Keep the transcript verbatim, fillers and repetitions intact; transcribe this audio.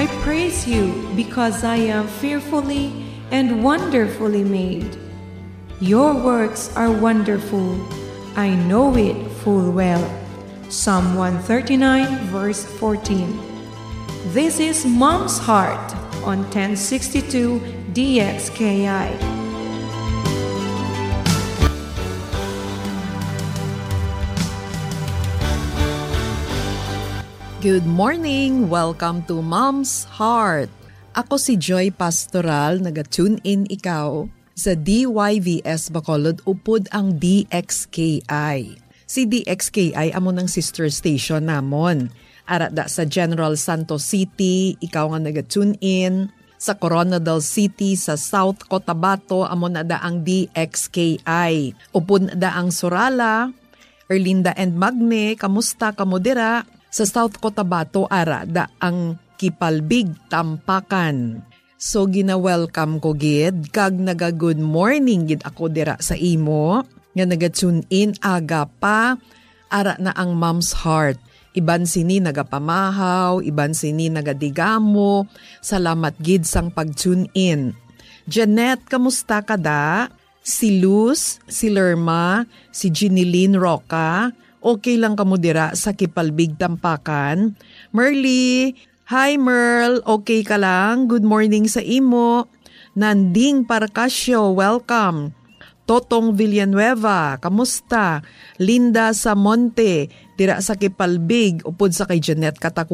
I praise you because I am fearfully and wonderfully made. Your works are wonderful. I know it full well. Psalm one thirty-nine, verse fourteen. This is Mom's Heart on ten sixty-two D X K I. Good morning! Welcome to Mom's Heart. Ako si Joy Pastoral, naga-tune in ikaw sa D Y V S Bacolod upod ang D X K I. Si D X K I amo nang sister station namon. Ara da sa General Santos City, ikaw nga naga-tune in. Sa Koronadal City, sa South Cotabato, amo na da ang D X K I. Upod na da ang Surala, Erlinda and Magne, kamusta kamo dira? Sa South Cotabato, ara da ang Kipalbig, Tampakan. So, gina-welcome ko gid, kag naga-good morning gid ako dira sa imo, nga naga-tune in aga pa, ara na ang Mom's Heart. Iban sini nagapamahaw, iban sini nagadigamo. Salamat gid sang pag-tune in. Jeanette, kamusta ka da? Si Luz, si Lerma, si Jeneline Roca, okay lang kamo dira sa Kipalbig, Tampakan? Merly, hi Merl, okay ka lang? Good morning sa imo. Nanding Parcasio, welcome. Totong Villanueva, kamusta? Linda Samonte, dira sa Kipalbig, upod sa kay Jeanette Katakutan.